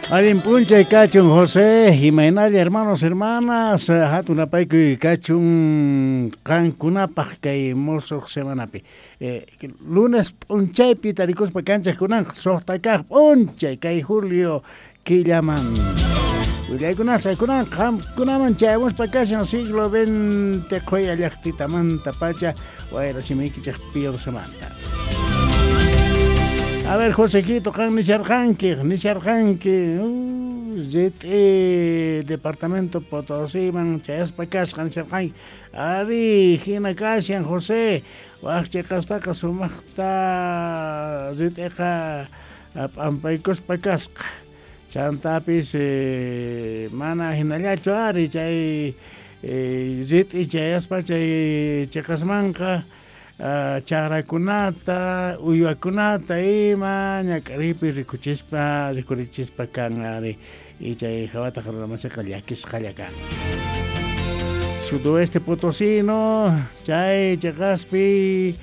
Allin p'unchay kachun José, imaynalla hermanos, hermanas, hatun apaykuy kachun qankunapaq kay musuq semanapi. Lunes p'unchaypi tarikuspa kanchaq kunanqa suqta kaq p'unchay kay julio killaman. Willaykunasqa kunanqa qamkunaman chayamuspa kashan siglo XX qhuya llaqtitamanta pacha wayra simiykichik Pilsemanta. A ver, Josequito, qan nisharqanki, rit'i departamento Potosíman chayaspa kasqa nisharqanki. Ari, hina kashan José, wak chiqastaqa sumaqta rit'iqa p'ampaykuspa kasqa. Chantapis mana hinallachu ari chay rit'i chayaspa chay chiqasmanqa chakrakunata, uywakunata ima ñak'aripi rikurichispa kan ari y chay hawataq runamasiyqa llakisqalla kan. Sudoeste potosino chay chiqaspi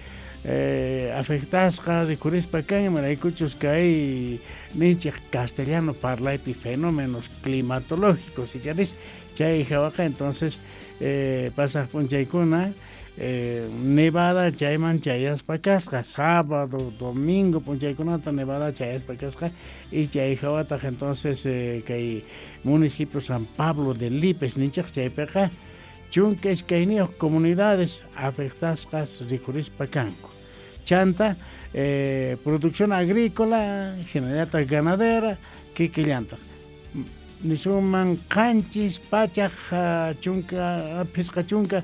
afectasqa rikurispa kan imaraykuchus kay ninchik castellano parlaypi fenómenos climatológicos icharis chay hawaqa entonces pasaq p'unchaykuna nevada chayman chayaspa kasqa sábado, domingo p'unchaykunata nevada chayaspa kasqa y chay hawataq entonces kay municipio San Pablo de Lipes ninchik chaypiqa chunka iskayniyuq comunidades afectasqas rikurispa kanku. Chanta producción agrícola, hinallataq ganadera, kikillantaq. Nisuman qanchis pachaq chunka phisqa chunka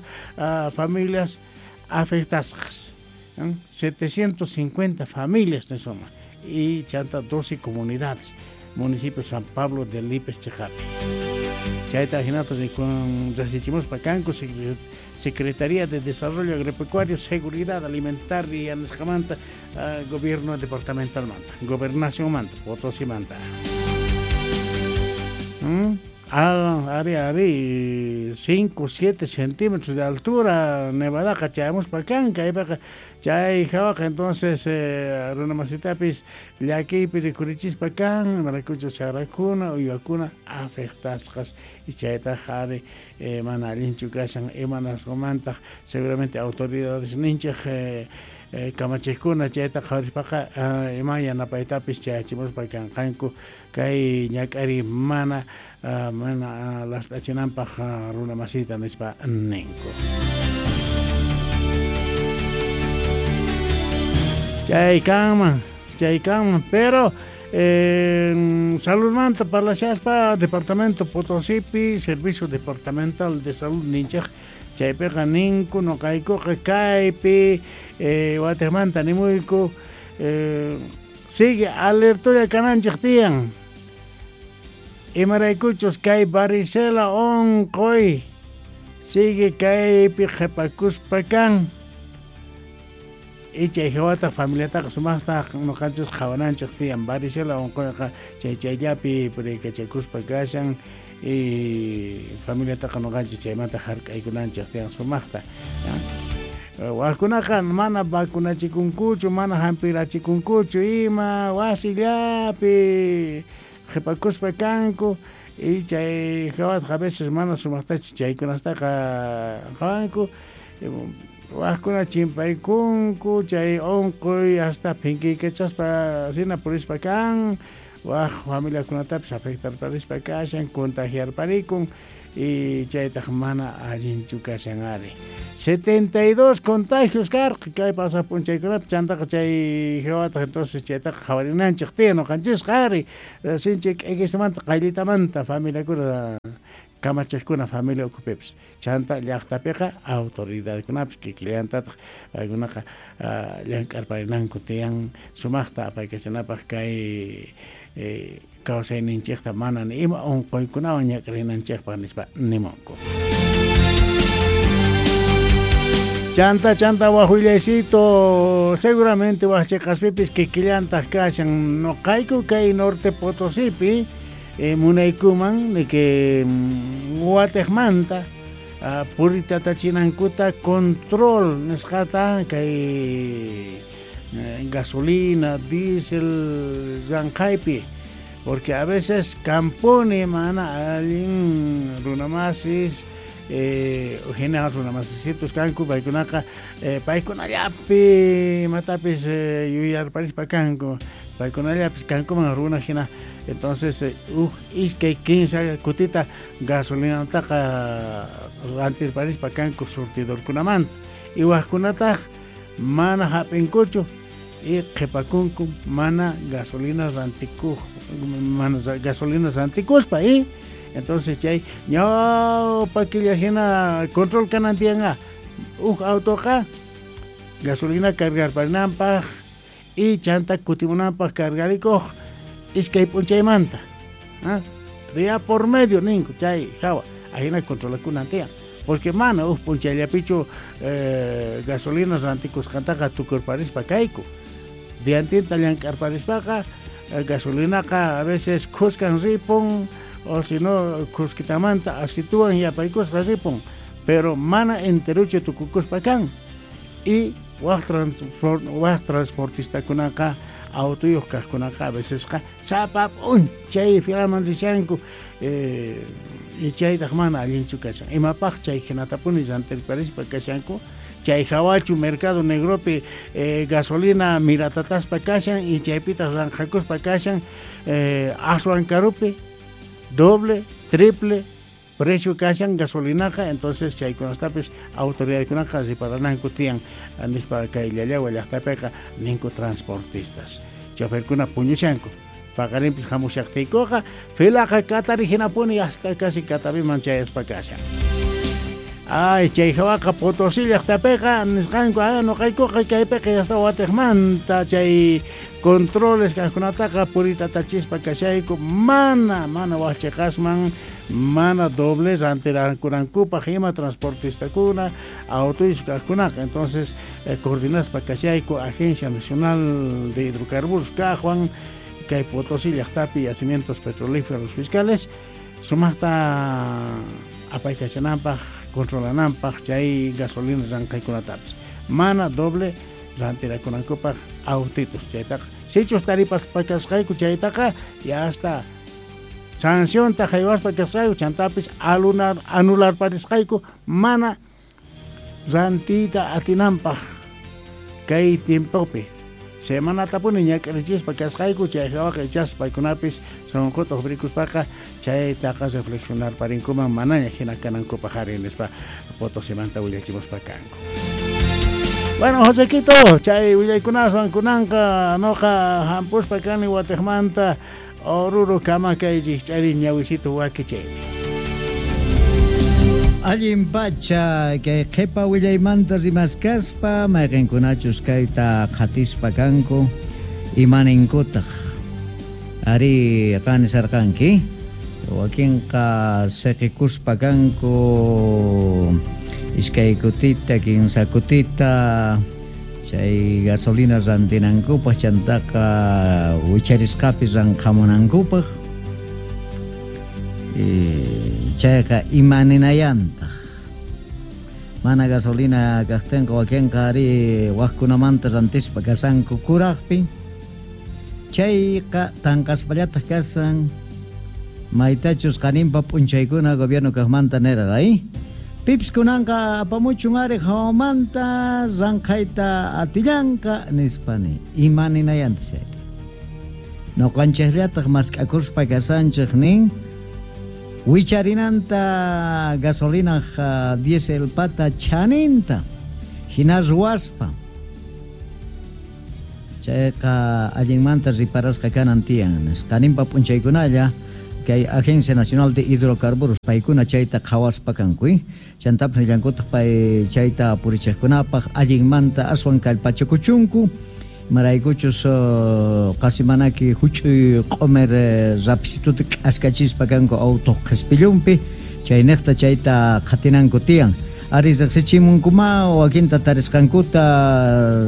familias afectasqas. 750 familias nisuman y chanta 12 comunidades municipio San Pablo de Lipes chiqapi. Chayta hinata riqsichimuspa kanku Secretaría de Desarrollo Agropecuario, Seguridad Alimentaria nisqamanta, Gobierno Departamentalmanta, Gobernacionmanta, Potosímanta. Ah, ari, ari, 5, 7 centímetros de altura, nevadaqa chayamuspa kan, kaypiqa chay hawaqa entonces runamasitapis llakiypi rikurichispa kan, imaraykuchus chakrakuna, uywakuna afectasqas y chaytaq ari mana allinchu kashan imanasqamantaq seguramente autoridades ninchik kamachiqkuna chayta qhawarispaqa ima yanapaytapis chayachimuspa kanqanku kay ñak'ari mana last'achinanpaq runamasita nispa ninku. Chay kanman, pero saludmanta parlashaspa Departamento Potosípi, Servicio Departamental de Salud ninchik chaypiqa ninku nuqaykuqa kaypi watiqmanta nimuyku sigue alertolla kananchik tiyan. Imaraykuchus kay varicela unquy sigue kaypi qhipakuspa kan. Y chay hawata familiataqa sumaqta nuqanchis qhawananchik tiyan varicela unquyqa chay chayllapi puriykachakuspa kashan y familiataqa nuqanchis chaymanta hark'aykunanchik tiyan sumaqta. Wajkunaqa mana vacunachikunkuchu, mana hampirachikunkuchu ima wasillapi qhipakuspa kanku y chay hawataqa a veces mana sumaqtachu chaykunastaqa qhawanku wajkuna chimpaykunku chay unquy hasta phinkiykachaspa hina purispa kan waj familiakunatapis afectarparispa kashan contagiarparikun y chaytaq mana allinchu kashan ari. 72 contagios karqa kay pasaq p'unchaykunapi chantaqa chay hawataq entonces chaytaqa qhawarinanchik tiyan nuqanchisqa ari sinchi k'ikismanta qayllitamanta familiakuna kamachiqkuna familia ukhupipis chanta llaqtapiqa autoridadkunapis kikillantataq paykunaqa llank'arparinanku tiyan sumaqta apaykachanapaq kay kawsayninchikta mana ni ima unquykunawan ñak'arinanchikpaq nispa nimunku. Chanta, chanta, wajullaycito, seguramente wajchiqaspipis kikillantaq kashan nuqayku kay Norte Potosípi munaykuman de que watiqmanta puritatachinankuta control nisqata kay gasolina, diésel, llanqaypi Porque a veces kampuni mana allin runamasis hina runamasisitos kanku paykunaqa paykunallapi imatapis yuyarparispa kanku paykunallapis kankuman runa hina. Entonces uj iskay kinsa kutita gasolinataqa rantirparispa kanku surtidorkunamanta y wajkunataq mana hap'inkuchu y qhipakunku mana gasolina rantikuq mana gasolina rantikuspa y entonces chay ñawpa killa hina control kanan tiyanqa uj autoqa gasolina cargarparinanpaq y chanta kutimunanpaq cargarikuq iskay p'unchaymanta día por medio ninku chay hawa ahina controlakunan tiyan porque mana uj p'unchayllapichu gasolina rantikusqantaqa tukurparispa kayku diantinta llank'arparispaqa gasolinaqa a veces khuskan ripun o si no khuskitamanta asituwan yapaykusqa ripun pero mana enteruchu tukukuspa kan y waq transportistakunaqa autoyuq kaqkunaqa a vecesqa sapa p'unchay filaman rishanku y chaytaq mana allinchu kashan imapaq chay hinatapuni rantirparispa kashanku chay hawachu mercado negropi gasolina miratataspa kashan y chaypitaq ranqhakuspa kashan aswan karupi doble, triple precio kashan gasolinaqa. Entonces chaykunastapis autoridadkunaqa riparananku tiyan nispa kay Llallagua llaqtapiqa ninku transportistas choferkuna puñushanku paqarinpis hamushaqtiykuqa filaqa katari hinapuni hasta casi Cataviman chayaspa kashan. Ay, chay hawaqa Potosí llaqtapiqa nisqanku nuqaykuqa kaypiqa hasta watiqmanta chay controles kaqkunataqa puritatachispa kashayku mana waqchiqasman mana doble rantirankunankupaq ima transportistakuna autoyuq kaqkunaqa. Entonces coordinaspa kashayku Agencia Nacional de Hidrocarburos kaqwan kay Potosí llaqtapi yacimientos petrolíferos fiscales sumaqta apaykachananpaq controlananpaq chay gasolina ranqaykunatapis mana doble rantirakunankupaq autitos chaytaqa sichus taripaspa kasqayku chaytaqa ya hasta sancionta haywaspa kasqayku chantapis anularparisqayku mana rantiyta atinanpaq kay tiempopi semanatapuni ñak'arichispa kasqayku chay hawaqa ichas paykunapis sunquta uqrikuspaqa chaytaqa reflexionarparinkuman manaña hina kanankupaq ari nispa Potosimanta willachimuspa kanku. Bueno, Josequito, chay willaykunaswan kunanqa noqa hampuspa kani watiqmanta Oruro kama kay rikch'ari ñawisito wakichaypi. Allin pacha kay qhipa willaymanta rimaskaspa mayqinkunachus kayta qhatispa kanku imaninkutaq ari qanisarqanki wakinqa siqikuspa kanku iskay kutita kinsa kutita chay gasolina rantinankupaq chantaqa wicharisqapi ranqamunankupaq chayqa imaninayantaq mana gasolina kaqtinqa wakinqa ari waqkunamanta rantispa kasanku kuraqpi chayqa tanqaspallataq kasan maytachus qaninpa p'unchaykuna gobierno kaqmanta nirqa pips kunanqa apamuchun ari hawamanta ranqayta atillanqa nispani imaninayantaq chayqa nuqanchiqllataq mask'akuspa kasanchik nin wicharinanta gasolinaq diesel pata chaninta hina ruwaspa chayqa allinmanta riparasqa kanan tiyan qaninpa p'unchaykunalla kay Agencia Nacional de Hidrocarburos paykuna chayta qhawaspa kanku chantapis nillankutaq pay chayta purichiqkunapaq allinmanta aswan kallpachakuchunku maraykuchus qasi manaki huch'uy q'umir rapisituta k'askachispa kanku auto qhispillunpi chayniqta chayta qhatinanku tiyan ari riqsichimunkuma wakinta tarisqankuta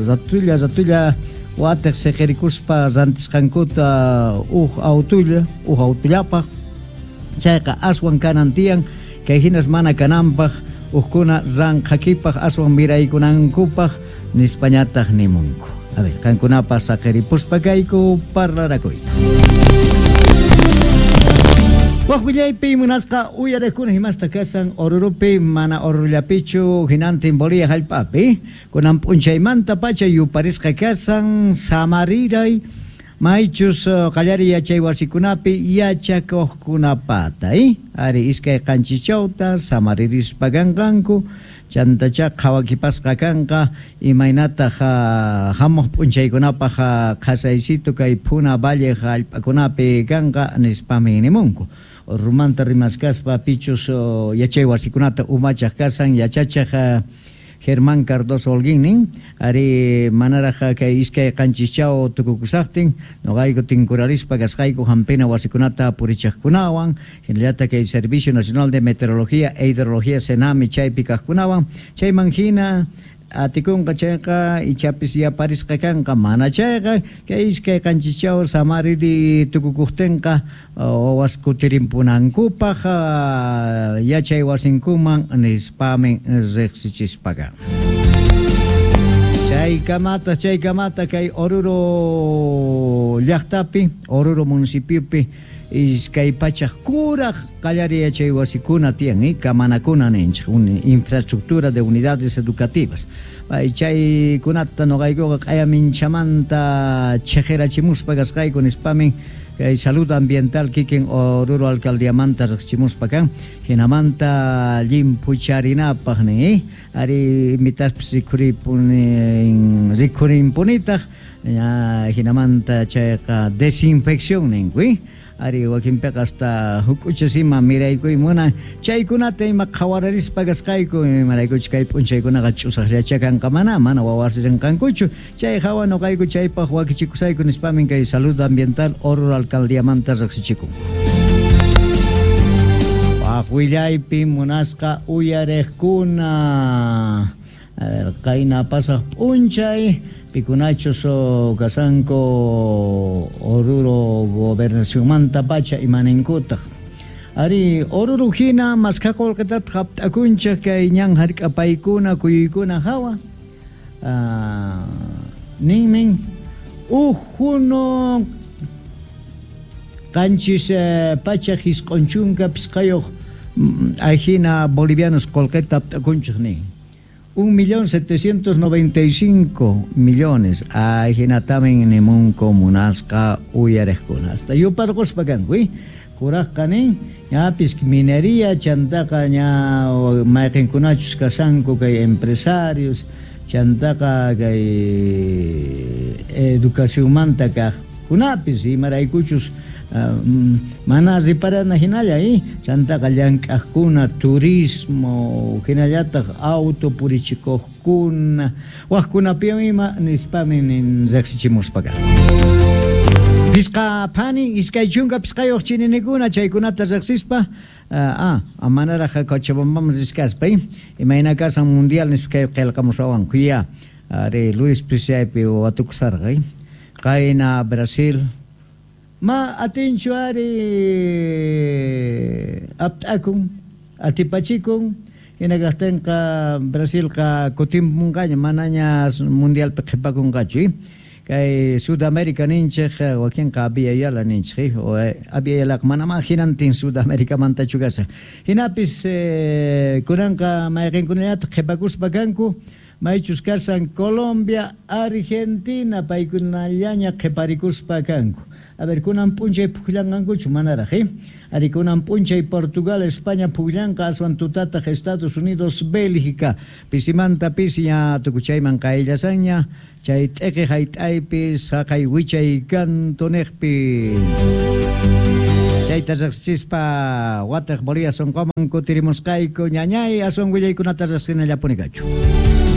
ratulla watiq siqirikuspa rantisqankuta uj autollapaq chayqa aswan kanan tiyan kay hinas mana kananpaq ujkuna ranqhakipaq aswan miraykunankupaq nispañataq nimunku. A ver, qankunapas saqiripuspa kayku parlarakuyta. Waq willaypi munasqa uyariqkuna himasta kasan Orurupi mana Orurullapichu hinantin Bolivia hallp'api kunan p'unchaymanta pacha yuparisqa kasan samariray maychus qallariy yachay wasikunapi yachakuqkunapata ari 2 chawta samaririspa kanqanku chantacha qhawakipasqa kanqa imaynataq hamuq p'unchaykunapaq qhasaysitu kay Puna Valle hallp'akunapi kanqa nispami nimunku. Orurumanta rimaskaspa pichus yachay wasikunata umachaq kasan yachachaq Germán Cardoso Holguín nin ari manaraq kay 2 chaw tukukusaqtin noqayku tinkurarispa kasqayku hampina wasikunata purichaqkunawan hinallataq kay Servicio Nacional de Meteorología e Hidrología SENAMI chaypi kaqkunawan chayman hina atikunqa chayqa ichapis yaparisqa kanqa mana chayqa kay 2 chaw samariri tukukuqtinqa wawas kutirimpunankupaq yachay wasinkuman nispamin riqsichispaqa. Chaykamata kay Oruro llaqtapi, Oruro municipiopi 200 kuraq qallariy yachay wasikuna tiyan, kamanakuna ninchik, infraestructura de unidades educativas. Chaykunata noqaykuqa q'ayaminchamanta chhiqirachimuspa kasqayku nispamin kay salud ambiental kikin Oruro alcaldiamanta riqsichimuspa kan hinamanta llimphucharinapaq nin, ari imitaspis rikhurinpunitaq hinamanta chayqa desinfección ninku, ari wakinpiqa hasta huk'uchas ima miraykuy munan chaykunata ima qhawararispa kasqayku imaraykuchu kay p'unchaykunaqa ch'usaqllacha kanqa mana wawas rinqankuchu chay hawa noqayku chaypaq wakichikusayku nispamin kay salud ambiental Oruro alcaldiamanta riqsichikun. Waq willaypi munasqa uyariqkuna, a ver, qayna pasaq p'unchay pikunachus kasanku Oruro gobernacionmanta pacha imaninkutaq. Ari Oruro hina maskha qullqitataq hapt'akunchik kay ñan hark'apaykuna kuyuykuna hawa ninmin uj huno 795 ajina bolivianos qullqita hapt'akunchik nin. 1.795.000.000 ajinatamin nimunku munasqa uyariqkuna hasta yuparquspa kanku kuraqqa nin ñapis minería chantaqa ña mayqinkunachus kasanku kay empresarios chantaqa kay educacionmanta kaqkunapis imaraykuchus mana riparana hinalla chantaqa llank'aqkuna turismo hinallataq auto purichikuqkuna waqkunapiwan ima nispami nin riqsichimuspa kan. Pisqa phani 25 chininikuna chaykunata riqsispa manaraq Cochabambaman riskaspa imayna kasan mundial nispa kay qillqamusawanku ya ari Luis Pisiaypi watukusarqa qayna Brasil ma atinchu ari apt'akun atipachikun hina kaqtinqa Brasilqa kutimpunqaña manaña mundialpi qhipakunqachu kay Sudamérica ninchik wakinqa Abya Yala ninchik Abya Yalaqa manamá hinantin Sudamericamantachu kashan hinapis kunanqa mayqinkunallataq qhipakuspa kanku maychus kasan Colombia, Argentina paykunallaña qhiparikuspa kanku. A ver, kunan p'unchay pukllanqankuchu manaraq, ari kunan p'unchay Portugal, España pukllanqa aswan tutataq Estados Unidos, Bélgica pisimanta pisi ña tukuchayman qayllasanña chay t'iqi hayt'aypi saqay wichay kantuniqpi chayta riqsispa wataq Bolivia sunquman kutirimusqayku ñañay aswan willaykunata riqsinallapuni kachu.